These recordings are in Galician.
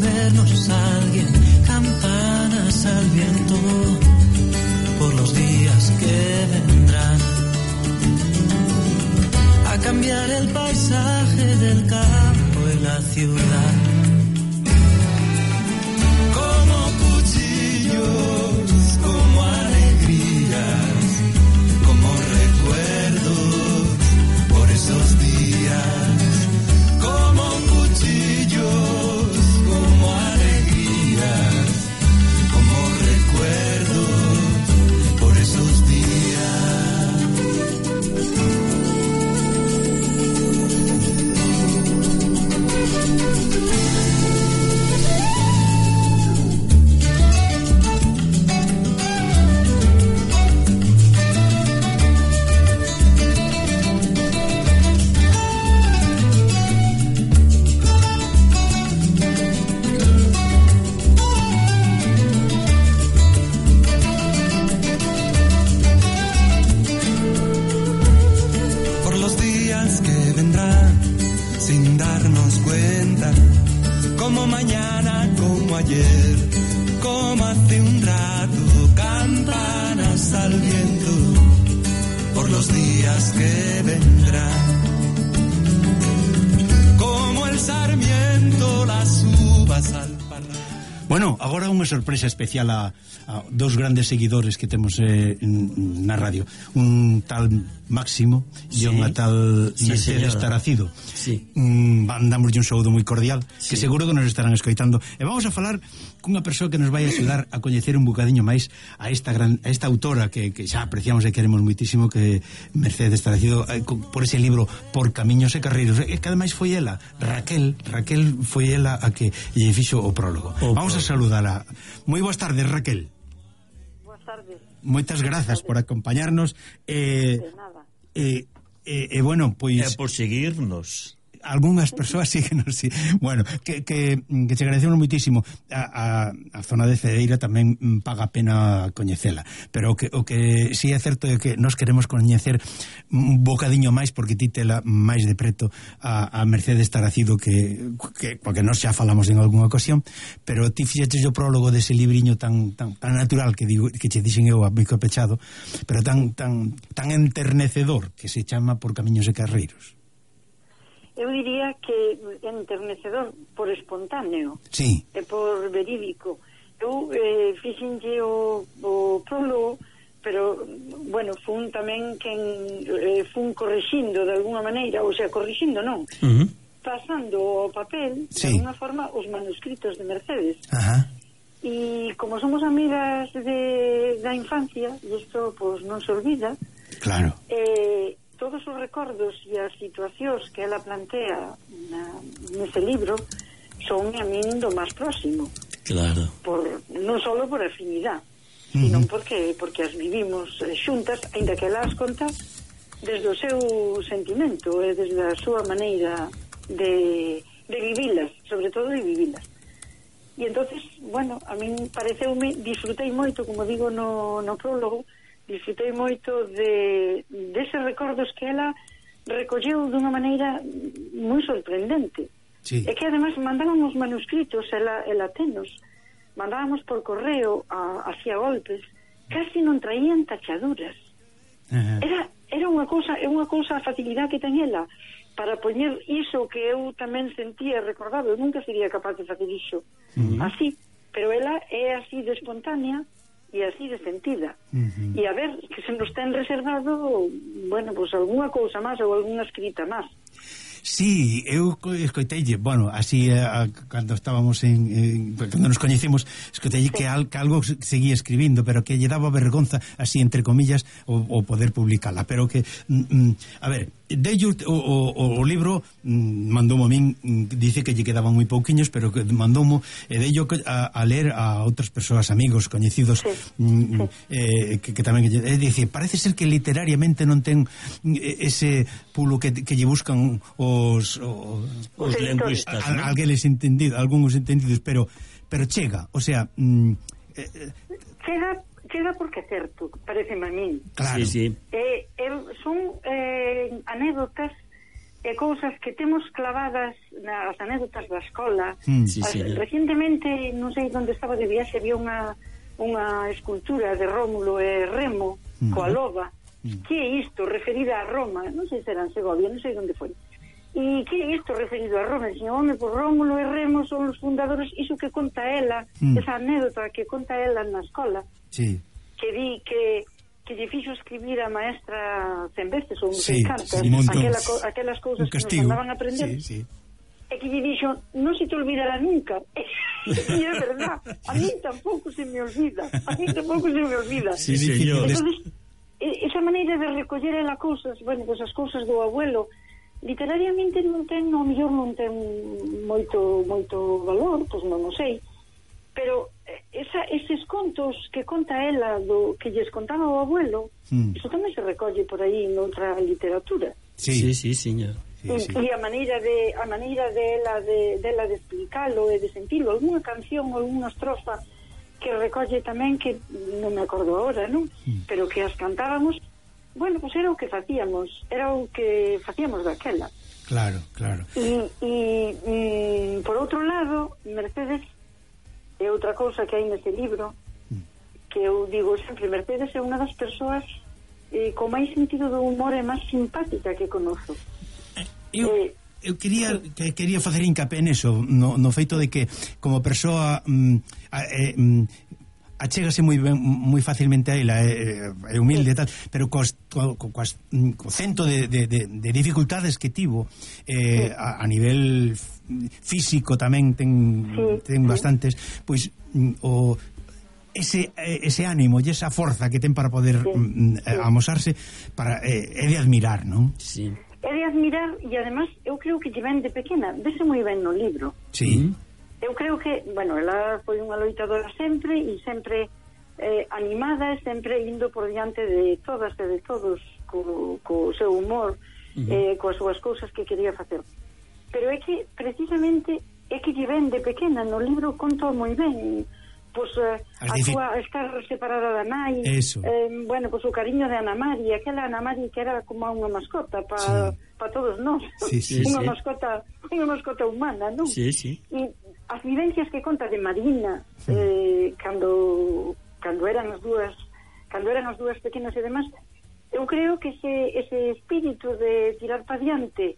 vernos alguien, campanas al viento, por los días que vendrán, a cambiar el paisaje del campo y la ciudad. Como cuchillos, como alegrías, como recuerdos por esos días. Como cuchillos, como alegrías, como recuerdos por esos días. Como mañana, como ayer, como hace un rato, campanas al viento, por los días que vendrán. Como el sarmiento, las uvas al parral. Bueno, agora unha sorpresa especial a dos grandes seguidores que temos na radio. Un tal Máximo e unha tal Mercedes Taracido. Sí. Mandamos un saúdo moi cordial, sí, que seguro que nos estarán escoitando. E vamos a falar cunha persoa que nos vai axudar a coñecer un bocadiño máis a esta autora que xa apreciamos e queremos moitísimo, que Mercedes Taracido, por ese libro Por Camiños e Carreiros, e que ademais foi ela, Raquel foi ela a que lle fixo o prólogo. Vamos a saludala. Moi boas tardes, Raquel. Boas tardes. Moitas grazas por acompañarnos. De nada. Bueno, pois... por seguirnos. Algúnas persoas síguenos, sí. Bueno, que te agradecemos moitísimo. A zona de Cedeira tamén paga a pena coñecela, pero o que sí é certo é que nos queremos coñecer un bocadiño máis, porque ti tela máis de preto a Mercedes Taracido, porque nós xa falamos en algunha ocasión, pero ti fixeches o prólogo dese libriño tan natural que che dixen eu a bico pechado, pero tan enternecedor, que se chama Por Camiños e Carreiros. Eu diría que enternecedor por espontáneo, sí, e por verídico. Eu fixenlle o prólogo, pero, bueno, fun tamén quen fun corrixindo de alguna maneira, ou sea, corrixindo non, pasando ao papel, sí, de alguna forma, os manuscritos de Mercedes. Ajá. E como somos amigas da infancia, e isto, pois, non se olvida, claro, todos os recordos e as situacións que ela plantea nese libro son a min do máis próximo. Claro. Non só por afinidade, sino porque as vivimos xuntas, aínda que ela as conta desde o seu sentimento e desde a súa maneira de vivilas, sobre todo de vivilas. E entonces, bueno, a min pareceume, disfrutei moito, como digo no prólogo, disfrutei moito deses recordos que ela recolleu dunha maneira moi sorprendente. Sí. E que ademais mandábamos manuscritos, ela tenos, mandábamos por correo hacia golpes, casi non traían tachaduras. Era unha cousa a facilidade que ten ela para poñer iso que eu tamén sentía e recordaba. Eu nunca sería capaz de facer iso así, pero ela é así de espontánea e así de sentida. E a ver, que se nos ten reservado, bueno, pues algunha cousa máis ou algunha escrita máis. Sí, eu escoiteille, bueno, así cando estábamos cando nos coñecemos, escoiteille que algo seguía escribindo, pero que lle daba vergonza, así entre comillas, o poder publicala, pero que a ver, dello o libro mandoumo a min, dice que lle quedaban moi pouquiños, pero que mandoumo e dello a ler a outras persoas, amigos, coñecidos, que tamén dice, parece ser que literariamente non ten ese pulo que lle buscan os lingüistas, algúns entendidos, pero chega, o sea, chega porque é certo, pareceme a min. Claro. Sí. Son anécdotas e cousas que temos clavadas nas anécdotas da escola. Recientemente, non sei onde estaba de viaxe, había unha escultura de Rómulo e Remo coa loba. Que é isto referida a Roma? Non sei se era en Segovia, non sei onde foi. E que é isto referido a Roma? Dixen, home, por Rómulo e Remo son os fundadores, iso que conta ela, esa anécdota que conta ela na escola, que di que lle fixo escribir a maestra 100 veces ou non sei cantas, aquelas cousas que nos andaban a aprender, e que lle dixo, non se te olvidará nunca. E é verdad, a mí tampouco se me olvida. Entonces, esa maneira de recoller ela cousas, bueno, pues as cousas do abuelo, literariamente non ten, ao mellor non ten moito valor, pois non o sei, pero eses contos que conta ela do que lles contaba o abuelo, iso tamén se recolle por aí noutra literatura. Sí, señor. E a maneira dela de explicalo e de sentilo, algunha canción ou algunha estrofa que recolle tamén, que non me acordo agora, non? Pero que as cantábamos, bueno, pues era o que facíamos daquela. Claro. E por outro lado, Mercedes é outra cousa que hai neste libro, que eu digo sempre, Mercedes é unha das persoas con máis sentido do humor e máis simpática que conozo. Eu quería facer hincapié neso, no feito de que como persoa achégase moi facilmente a ela, é humilde e tal, pero co cento de dificultades que tivo a nivel físico tamén ten bastantes, pois ese ánimo e esa forza que ten para poder amosarse é de admirar, non? Sí. É de admirar, e además eu creo que lle ven de pequena, vese moi ben no libro. Sí. Eu creo que, bueno, ela foi unha loitadora sempre e sempre animada e sempre indo por diante de todas e de todos co seu humor, coas súas cousas que quería facer. Pero é que precisamente é que lle ven de pequena, no libro conta moi ben, pois a súa estar separada da nai, bueno, pois o cariño de Ana Mari, aquela Ana Mari que era como unha mascota para todos nós, unha mascota humana, non? E as vivencias que conta de Marina, cando eran as dúas pequenas e demás, eu creo que ese espírito de tirar para diante,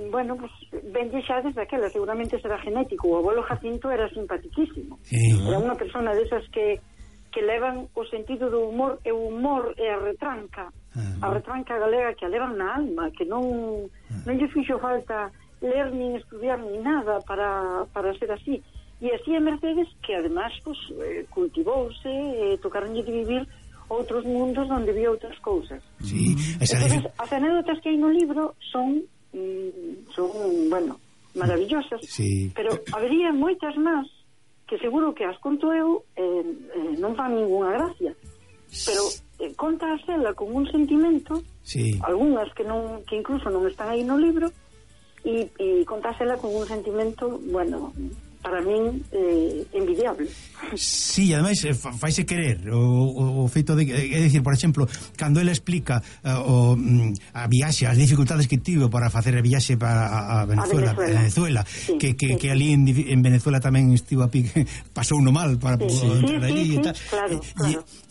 bueno, pues venlle xa desde aquela, seguramente será genético. O abuelo Jacinto era simpaticísimo, era unha persona desas que levan o sentido do humor, e o humor é a retranca galega que a levan na alma, que non lle fixo falta ler nin estudiar nin nada para ser así. E así é Mercedes, que además pues, cultivouse, tocaronlle de vivir outros mundos onde vía outras cousas. Entonces, as anécdotas que hai no libro son bueno, maravillosas, pero habería moitas máis que seguro que as conto eu, non fan ninguna gracia, pero conta a ela con un sentimento, algunhas que incluso non están aí no libro, e conta a ela con un sentimento, bueno, para min envidiable. Sí, ademais faise querer o feito de, é dicir, por exemplo, cando ela explica a viaxe, as dificultades que tivo para facer a viaxe para a Venezuela, que ali en Venezuela tamén estivo a pique, pasou no mal para entrar ali e tal. Claro.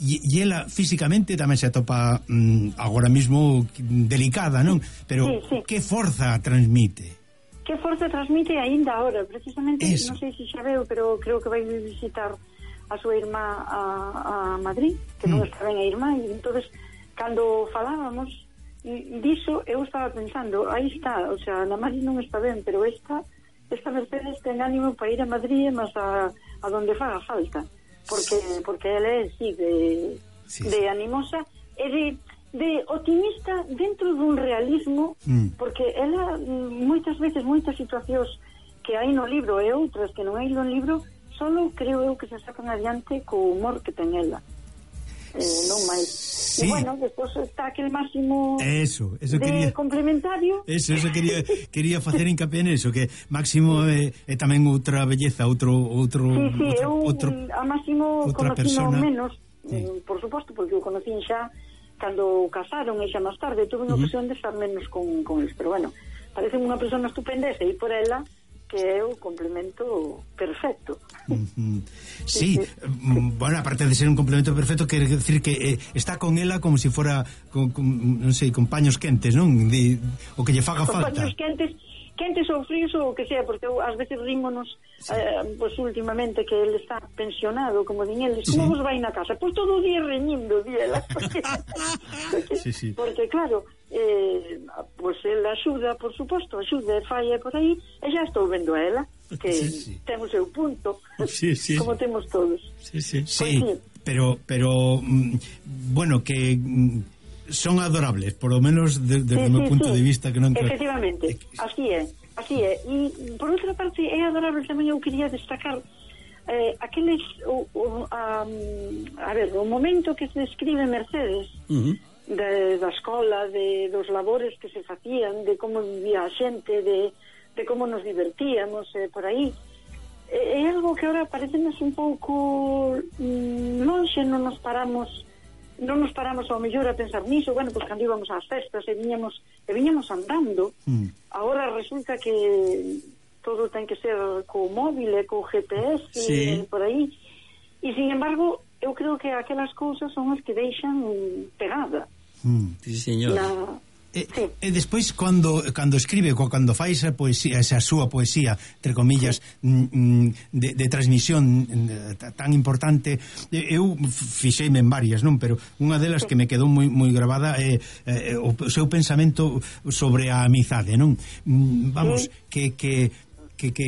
E ela físicamente tamén se atopa agora mesmo delicada, non? Pero que forza transmite? Que forza transmite aínda ahora, precisamente, non sei se xa veo, pero creo que vai visitar a súa irmá a Madrid, que non está ben a irmá, e entonces cando falábamos diso, eu estaba pensando, aí está, o sea, Ana Mari non está ben, pero esta Mercedes ten ánimo para ir a Madrid, mas a donde faga falta, porque ela é así de animosa e de optimista dentro dun realismo, porque ela moitas veces, moitas situacións que hai no libro e outras que non hai no libro, solo creo eu que se sacan adiante co humor que ten ela, non máis. E bueno, despois está aquel Máximo de complementario. Eso quería facer hincapié neso, que Máximo é tamén outra belleza, outro a Máximo conocino menos, por suposto, porque o conocín xa cando casaron e xa máis tarde tuve unha ocasión de estar menos con eles, pero bueno, parece unha persona estupendesa e por ela que é o complemento perfecto. Sí, bueno, aparte de ser un complemento perfecto, quere decir que está con ela como se fora non sei, con paños quentes, non? O que lle faga con falta. Paños quentes ou fríos ou o que sea, porque ás veces rímonos pois últimamente que ele está pensionado, como din eles, como vos vai na casa? Pois todo o día reñindo, diela, porque claro, pois ele axuda, por suposto, axuda e falla por aí, e xa estou vendo a ela que ten o seu punto, como temos todos. Pero bueno, que son adorables, por lo menos desde o meu punto de vista, que non efectivamente, así é. E por outra parte é adorable tamén. Eu quería destacar aqueles a ver, o momento que se describe Mercedes da escola, dos labores que se facían, de como vivía a xente, de como nos divertíamos por aí, é algo que ahora parecenos un pouco lonxe, non nos paramos ao mellor a pensar niso. Bueno, pois cando íbamos ás festas e viñamos andando, agora resulta que todo ten que ser co móvil e co GPS e por aí, e sin embargo eu creo que aquelas cousas son as que deixan pegada. Sí, señor. E despois cando escribe, cando fai esa poesía, esa súa poesía, entre comillas, de transmisión tan importante, eu fixeime en varias, non? Pero unha delas que me quedou moi grabada é o seu pensamento sobre a amizade, non? Vamos, que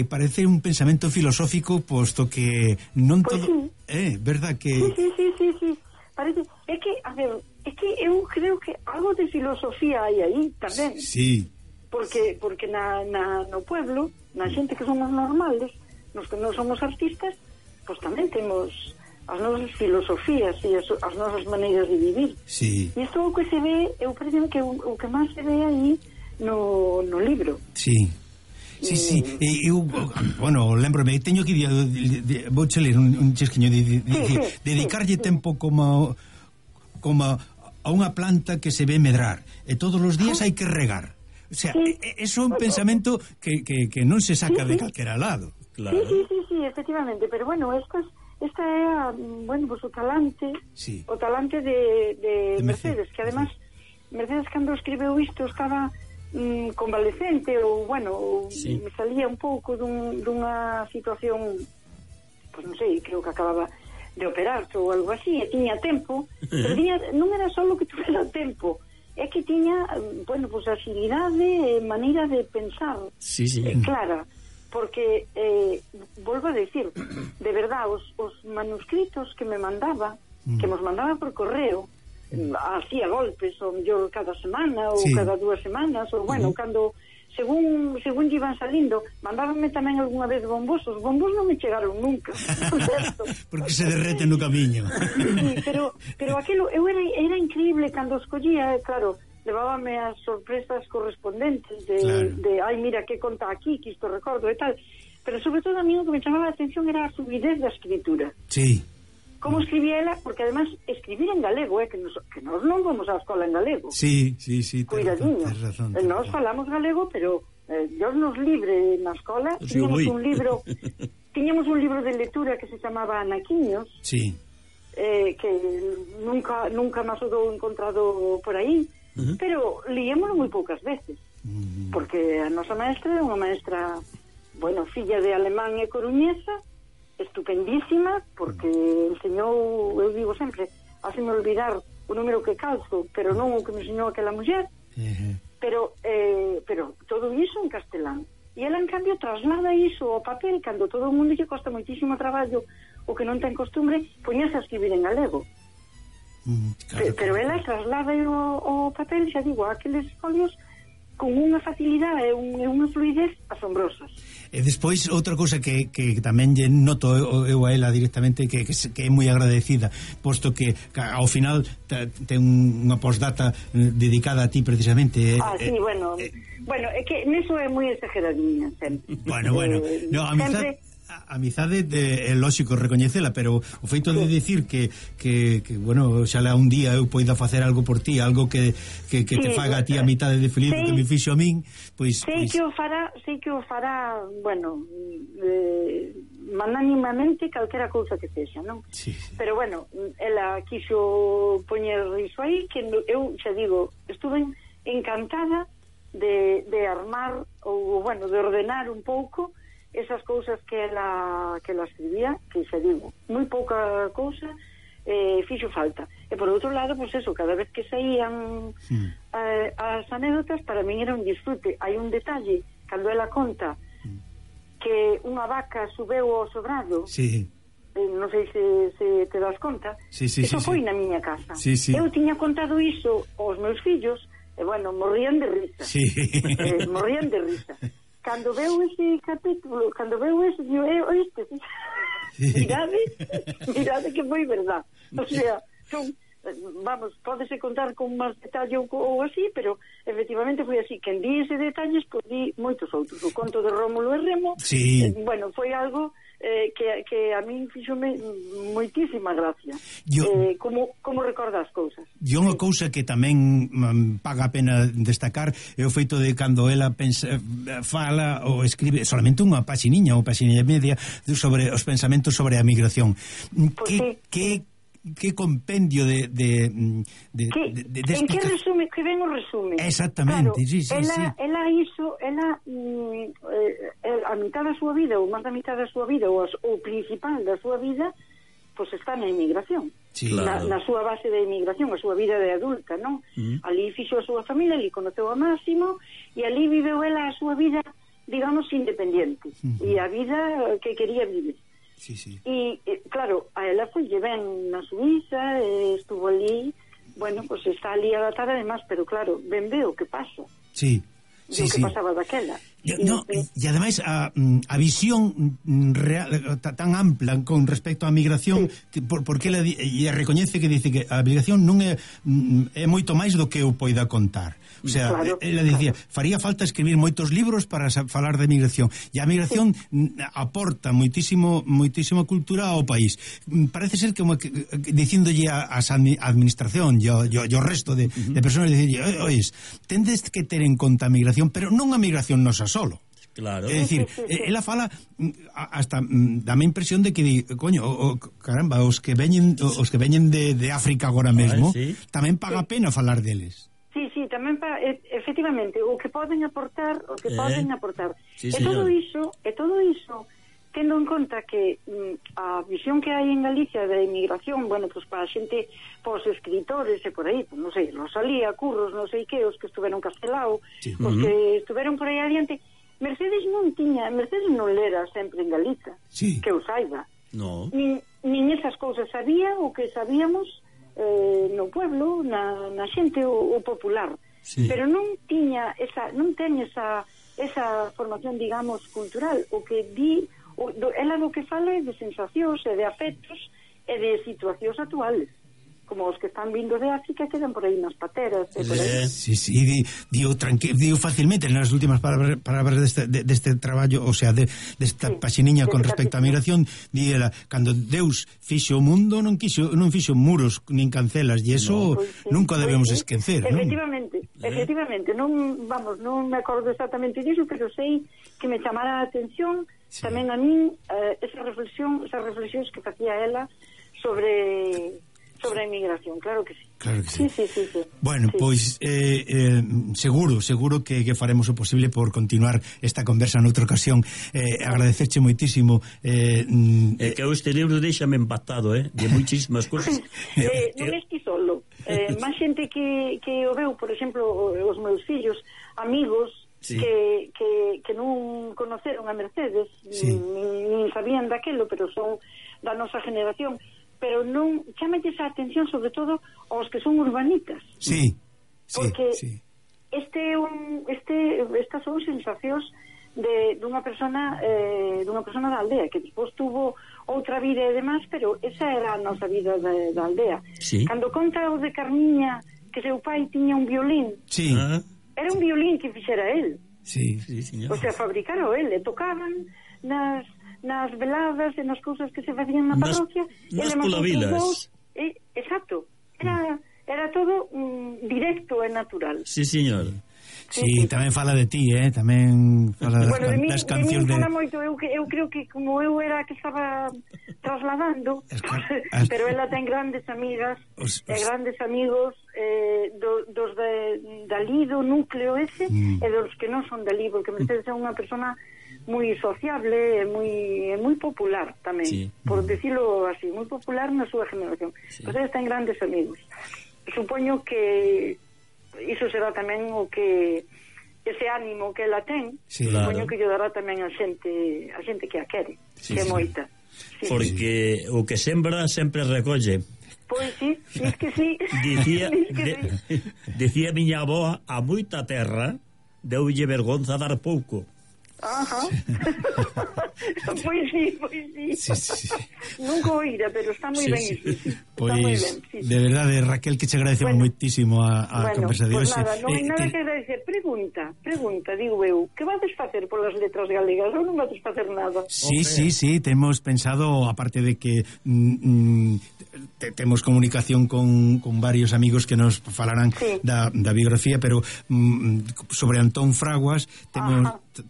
parece un pensamento filosófico, posto que non todo... verdad que... Sí. Parece, é que, a ver, eu creo que algo de filosofía hai aí tamén. Sí. Porque no pueblo, na xente que somos normales, nos que non somos artistas, pois tamén temos as nosas filosofías e as nosas maneiras de vivir. Sí. E isto é o que se ve, eu parece que o que máis se ve aí no libro. Sí. Sí, eu, bueno, lembrome, teño que vou che ler un chesquiño dedicarlle tempo como a unha planta que se ve medrar e todos os días hai que regar. O sea, eso é un pensamento que non se saca de calquera lado. Claro. Sí, efectivamente, pero bueno, esta é bueno, pues o talante de Mercedes, que además Mercedes cando escribeu isto estaba convalescente ou, bueno, me salía un pouco dunha situación, pois non sei, creo que acababa de operar ou algo así, e tiña tempo, pero non era só que tuvera tempo, é que tiña, bueno, pois agilidade, maneira de pensar clara, porque volvo a decir, de verdad, os manuscritos que me mandaba, que nos mandaba por correo, hacía golpes, ou mellor cada semana ou cada 2 semanas, ou bueno, cando según iban salindo, mandábanme tamén algunha vez bombos. Os bombos non me chegaron nunca, porque se derreten no camiño. Sí, pero aquilo eu era increíble cando escollía, claro, levábame as sorpresas correspondentes de ai, mira que conta aquí, que isto recordo e tal, pero sobre todo a mí o que me chamaba a atención era a fluidez da escritura. Sí. Como escribía ela, porque además escribir en galego, que nos non vamos á escola en galego. Sí. Cuidadiño. Nos falamos galego, pero Dios nos libre na escola. Tiñamos un libro de lectura que se chamaba Anaquiños. Sí. Que nunca máis o dou encontrado por aí, pero liémoslo moi poucas veces. Porque a nosa maestra é unha maestra, bueno, filla de alemán e coruñesa, estupendísima, porque enseñou, eu digo sempre, haceme olvidar o número que calzo, pero non o que me enseñou aquela muller, pero todo iso en castelán. E ela, en cambio, traslada iso ao papel, cando todo o mundo lle costa moitísimo traballo, o que non ten costumbre, poñese a escribir en galego. Pero ela traslada ao papel, xa digo, aqueles folios con unha facilidade e unha fluidez asombrosas. E despois outra cousa que tamén lle noto eu a ela directamente que é moi agradecida, posto que ao final ten unha postdata dedicada a ti precisamente. Sí, bueno, é que neso é moi exageradinha sempre. Bueno, no, a amizade A amizade é lógico recoñecela, pero o feito de dicir que bueno, xa un día eu poida facer algo por ti, algo que te faga a ti a mitade de feliz que me fixo a min, pois sei que o fará, bueno, magnánimamente calquera cousa que sexa, non? Sí. Pero bueno, ela quixo poñer iso aí, que eu xa digo, estuve encantada de armar ou, bueno, de ordenar un pouco esas cousas que ela escribía, que xa digo, moi pouca cousa fixo falta. E por outro lado, pois eso, cada vez que saían as anécdotas, para min era un disfrute. Hai un detalle, cando ela conta que unha vaca subeu ao sobrado, non sei se te das conta, eso foi na miña casa. Eu tiña contado iso aos meus fillos, e bueno, morrían de risa. Morrían de risa. Cando veu ese capítulo, cando veu ese, oíste, mirade que foi verdad. O sea, vamos, pódese contar con máis detalle ou así, pero efectivamente foi así. Quen di ese detalles, pois di moitos outros. O conto de Rómulo e Remo, bueno, foi algo que a min fixome moitísima gracia. Como recorda as cousas. E unha cousa que tamén paga a pena destacar é o feito de cando ela fala ou escribe solamente unha paxiniña ou paxiniña e media sobre os pensamentos sobre a migración. Que compendio de en que resume, que ben o resume. Exactamente, claro, ela hizo, a mitad da súa vida, ou máis da mitad da súa vida, ou o principal da súa vida, pois está na emigración. Na súa base de emigración, a súa vida de adulta, non? Ali fixo a súa familia, ali conoceu a Máximo, e ali viveu ela a súa vida, digamos, independiente, e a vida que quería vivir. E claro, a ela foi ben na Suiza, estuvo ali, bueno, pues está ali adaptada además, pero claro, ben veo o que pasa. Que pasaba daquela. E ademais a visión real, tan ampla con respecto á migración, porque ela recoñece que dice que a migración non é moito máis do que eu poida contar. O sea, ela dicía, faría falta escribir moitos libros para falar de migración, e a migración aporta moitísima cultura ao país. Parece ser como que dicíndolle a administración e ao resto de persoas, dicirlle, ois, tendes que ter en conta a migración, pero non a migración nosa solo. Claro. É dicir, ela fala hasta dame impresión de que coño, caramba, os que veñen de África agora mesmo, tamén paga a pena falar deles. Sí, tamén efectivamente, o que poden aportar, E todo iso tendo en conta que a visión que hai en Galicia da emigración, bueno, pues para a xente, os escritores e por aí, pues, non sei, Rosalía, Curros, non sei que, os que estuveron Castelao, os que estuveron por aí adiante, Mercedes non lera sempre en Galiza, que eu saiba. Nin esas cousas sabía o que sabíamos no pueblo, na xente o popular, pero non ten esa formación, digamos, cultural. O que di ela do que fala é de sensacións e de afectos e de situacións actuales, como os que están vindo de África, quedan por aí nas pateras e por aí. Digo facilmente nas últimas palabras deste traballo, o sea, desta paxiniña con respecto á migración, díela, cando Deus fixo o mundo non fixo muros nin cancelas, e eso nunca debemos esquecer, non? Efectivamente, non me acordo exactamente disso, pero sei que me chamara a atención tamén a min esas reflexións que facía ela sobre a inmigración, claro que sí. Sí. Bueno, pois seguro que faremos o posible por continuar esta conversa noutra ocasión. Agradecerche moitísimo. Que este libro deixame empatado, de muchísimas cousas. Non esti solo. Máis xente que o veu, por exemplo, os meus fillos, amigos que non conoceron a Mercedes, nin sabían daquelo, pero son da nosa generación, pero non chámelles a atención sobre todo aos que son urbanitas. Porque estas son sensacións dunha persona da aldea, que despois tuvo outra vida e demás, pero esa era a nosa vida da aldea. Cando conta o de Carmiña que seu pai tiña un violín, era un violín que fixera él. Sí, señor. O sea, fabricaro ele, tocaban nas veladas e nas cousas que se facían na parroquia. Nas polavilas. Exacto. Era todo directo e natural. Sí, señor. Sí, tamén fala de ti, tamén fala das cancións de... moito, eu creo que como eu era a que estaba trasladando, pero ela ten grandes amigas e grandes amigos dos dali do núcleo ese e dos que non son dali, porque Mercedes é unha persona moi sociable e moi popular tamén, por decirlo así, moi popular na súa generación. Mercedes ten grandes amigos. Supoño que iso será tamén o que ese ánimo que ela ten, supoño que lle dará tamén a xente que a quere, que é moita. Porque o que sembra sempre recolle. Pois sí, es que sí. Dicía miña avoa, a moita terra deulle vergonza dar pouco. Ajá. Pois sí. Nunca oíra, pero está moi ben iso. Pois, de verdade, Raquel, que che agradecemos moitísimo a conversa de hoxe. Nada, non hai nada que agradecer. Pregunta, digo eu, que vades facer polas letras galegas ou non vades facer nada? Sí, temos pensado, aparte de que temos comunicación con varios amigos que nos falarán da biografía, pero sobre Antón Fraguas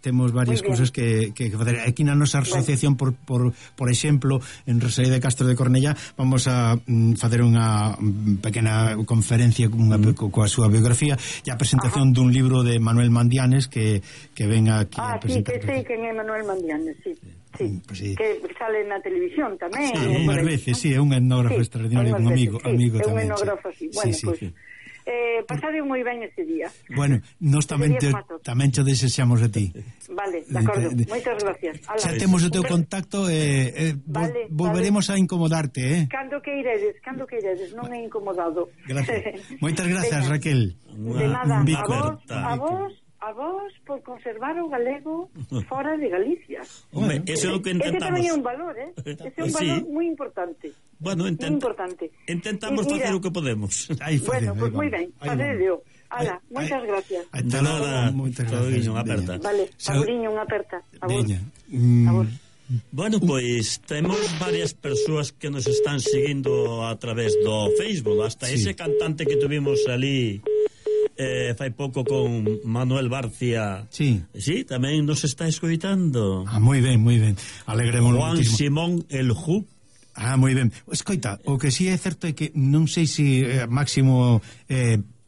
temos varias cousas que facer. Aquí na nosa asociación, por exemplo, en Rosalía de Castro de Cornellá, vamos a facer unha pequena conferencia coa súa biografía e a presentación dun libro de Manuel Mandianes que ven aquí a presentar. Sí, que sei quen é Manuel Mandianes, sí. Pues sí, que sale na televisión tamén. Unhas veces, é un etnógrafo extraordinario, un amigo tamén. É un etnógrafo, sí. Bueno, pues pasade moi ben ese día. Bueno, nós tamén te desexamos a ti. Vale, de acordo, moitas gracias. Xa temos o teu contacto volveremos a incomodarte, Cando que iredes, non é incomodado. Gracias. Moitas grazas, Raquel. De nada, a vos por conservar o galego fora de Galicia. Hombre, eso é o que intentamos. Ese tamén é un valor, ese é un valor moi importante. Bueno, intentamos facer o que podemos. Bueno, pues moi ben, facedeo. Ala, moitas gracias. De nada, Sauriño, unha aperta. Vale, Sauriño, unha aperta. A vos. Bueno, pois temos varias persoas que nos están seguindo a través do Facebook, hasta ese cantante que tuvimos ali fai pouco con Manuel Barcia. Sí, tamén nos está escoitando. Moi ben. Alegremos Juan muchísimo. Simón el Ju. Moi ben. Escoita, o que si é certo é que non sei se Máximo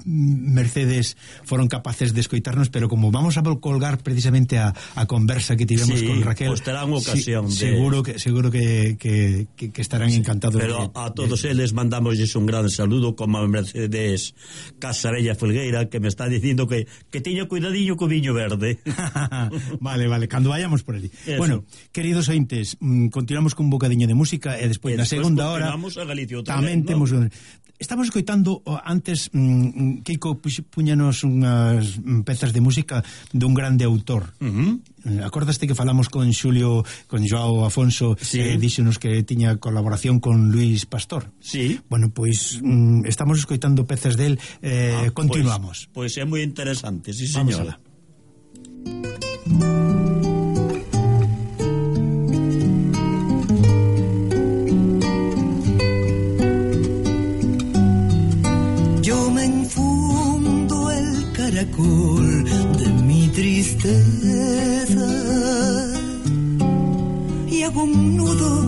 Mercedes foron capaces de escoitarnos, pero como vamos a colgar precisamente a conversa que tivemos con Raquel, pues terán ocasión seguro que estarán encantados. Pero a todos eles mandamosles un gran saludo, como a Mercedes Casabella Folgueira, que me está dicindo que teño cuidadiño co viño verde. Vale, cando vayamos por ali. Eso. Bueno, queridos ointes, continuamos con un bocadiño de música e despois na segunda hora tamén temos estamos escoitando antes Kiko puñanos unhas pezas de música dun grande autor. Acordaste que falamos con Joao Afonso, díxonos que tiña colaboración con Luis Pastor. Sí. Bueno, pois estamos escoitando pezas del, continuamos. Pois é moi interesante, sí, señora. Caracol de mi tristeza y hago un nudo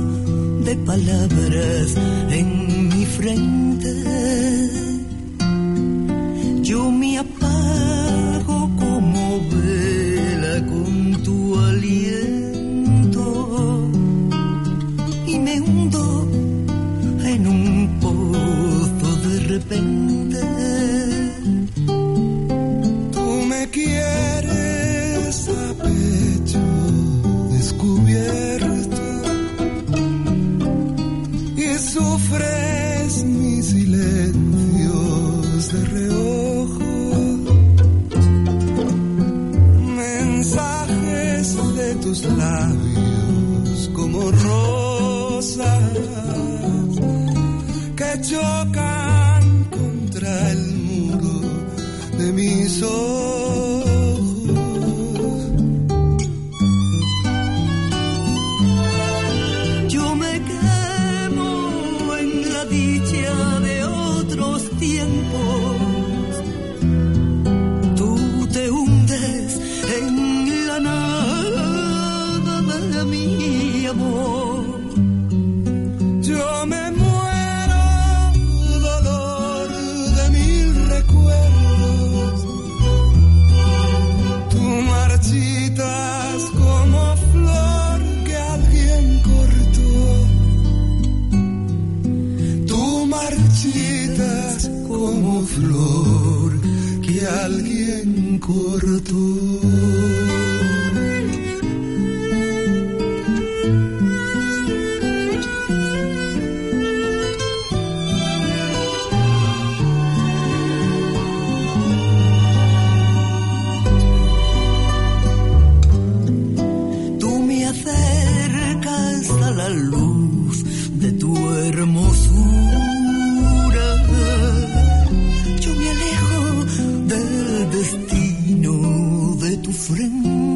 de palabras en mi frente. Yo me apago como vela con tu aliento y me hundo en un pozo de repente. Quieres a pecho descubierto y sufres mis silencios de reojo, mensajes de tus labios como rosas que chocan contra el muro de mis ojos. corto. Tú me acercas a la luz de tu hermosura. Yo me alejo del destino de tu frente.